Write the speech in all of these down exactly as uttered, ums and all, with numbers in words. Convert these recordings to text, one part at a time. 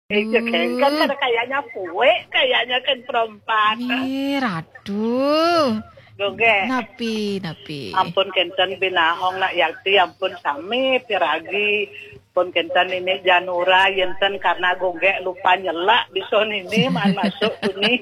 Iya, kan, kan ada kayaknya kue, kayaknya kan perempat. Ih, ratu. Goge. Napi, napi. Ampun kenten binahong nak yakti, ampun sami piragi. Ampun kenten ini janura, yenten karena goge lupa nyelak, bisa nini man masuk kuni.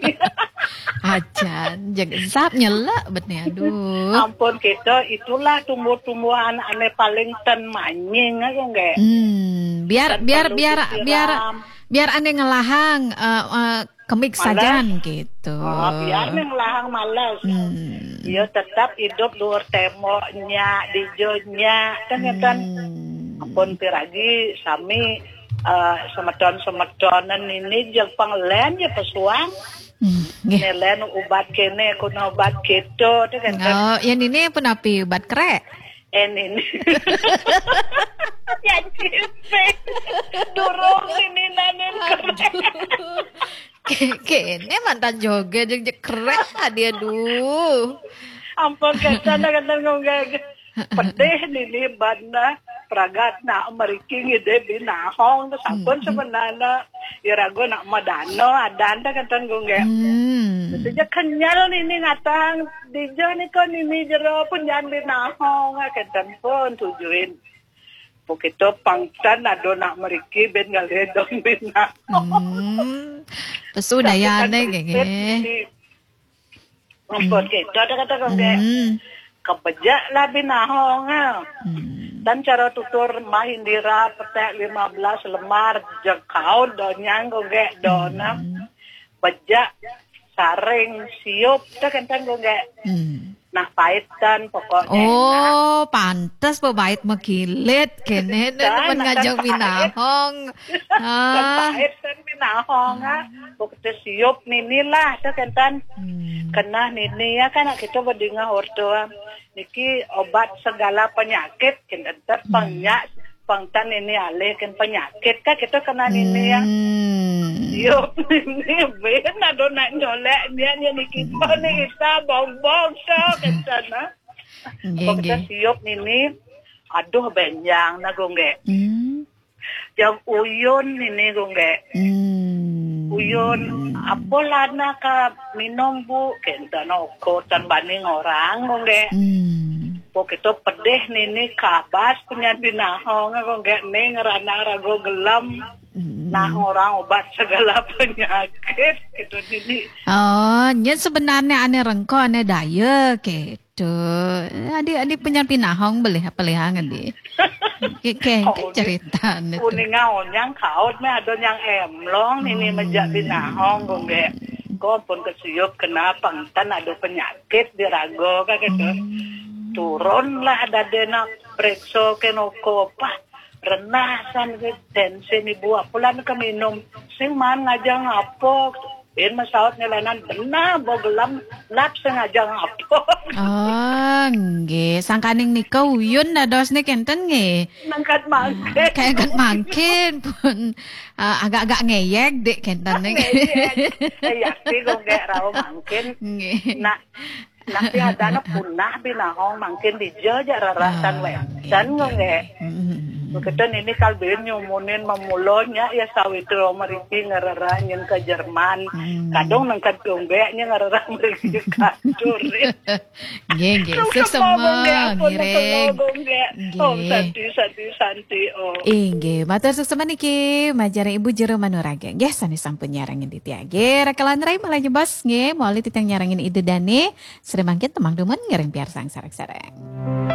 Acan, jangan sap nyelak bet ni, aduh. Ampun kita, itulah tumbuh-tumbuhan ane paling ten manying, goge. Hmm, biar, Ten biar, perlu biar, biar, disiram. Biar ane ngelahang, eh, eh, kemik Males. Sajan gitu. Oh, biar ane ngelahang males. Hmm. Iya, tetap hidup luar temboknya, dijonya, kan, ya, kan? Hmm. Ampun piragi sami, eh, semeton-semetonan ini jeng pengelen ya pesuang. Hmm, nggih. Nelen ubat kene, kuna ubat keto, tu kan, kan? Oh, yang ini pun api ubat kerek? Eh, ini. Ya, cipe. Durung ini nanen kerek. Aduh. Ke-, kene mantan joget, jeg-, jeg kerek, aduh, aduh. Ampun, kata, kata ngomong. Pedih nini bana pragat nak meriki ngide binahong, sampun. Hmm. Sebenarnya irago nak madano adan, dah kenten gue nggak. Hmm. Itu je kenyal nini ngatang, dija ni kan nini jero pun jangan binahong, kenten pun tujuin. Pokito pangtan ado nak meriki ben ngalih dong binahong. Hmm. Pesu tapi dayane kan nggih, nggih. Di Ampun, hmm. Gitu, ada kata kau, hmm. Kebejak lah binahong, ah. Hmm. Dan cara tutur Mahindira petek lima belas lemar jekaun donyang kau, gek, dona. Hmm. Bejak, saring, siup, tu kenten kau, gek. Hmm. Nah, paitan pokoknya. Oh, enak. Pantes pebait mekilit, kene. Dan ngajak pait. Binahong. Kan ah. Pait kan binahong, ah. Pokoknya siup nini lah, tu kan, tan. Hmm. Kena nini ya kan, kita berdingah orto, ah. Niki obat segala penyakit, kita tetap, hmm, penyak, pengtan ini alih kan penyakit, kan kita kena nini ya. Hmm. Siup nini, ben ada nak nyolek, dia, dia niki, hmm, ni kita bong-bong, so, kan, tan, ah. Nggih, pokoknya nggih. Siup nini, aduh, benjang, nah, gue nggak. Hmm. Jam uyun nini gongge. Hmm. Uyun, apa lana ka minum, Bu? Kenten oko tan bani ngorang gongge. Hmm. Pokito pedih nini kabas penyan binahong gongge ning rana rago gelem. Hmm. Nah, orang obat segala penyakit gitu nini. Oh, nya sebenarnya ane rengko ane daya ke. Duh, adi, adi penyan binahong belih apa lihang adi? Ke, ke, ke cerita ni tu. Kuning onyang kaut meh ada nyang emlong nini. Hmm. Mejak binahong gongge. Ko pun kesiup kena pengtan ada penyakit di rago ka gitu. Hmm. Turunlah dade nak periksa ke noko, pah, renah san ke tensi ni buah pulan ke minum. Sing man ngajang apa? Pin masaut ngelanan benar, bo gelam lap sengaja ngapok. Oh, nggih. Sangkaning nika uyun dados nika enten nggih. Nengkat mangkin. Kayak enten mangkin pun, eh, agak-agak ngeyek dik kenten nih. Ngeyek. Eh, yakti kok nggak rau mangkin. Nggih. Nah, tapi adana punah binahong mangkin dija ja raratan. Ah, weten nggih, nggih. Hmm. Beketan ini kal ben nyumunin memulonya ya sawitra meriki ngerera nyen ke Jerman. Hmm. Kadung nengkat dombeknya ngerera meriki kadur. Nggih, nggih. Suksema, nggih, ampun, ngiring. Suksema, nggih. Nggih. Om Santi, Santi, Santi, Om. Inggih, matur suksema niki, majeng Ibu Jero Manuraga. Nggih, sane sampun nyarengin titiang. Nggih, rekelan rai malah nyebas, nggih, mawali titiang nyarengin Ida Dane. Sri mangkin temang dumun ngiring piarsang sareng-sareng.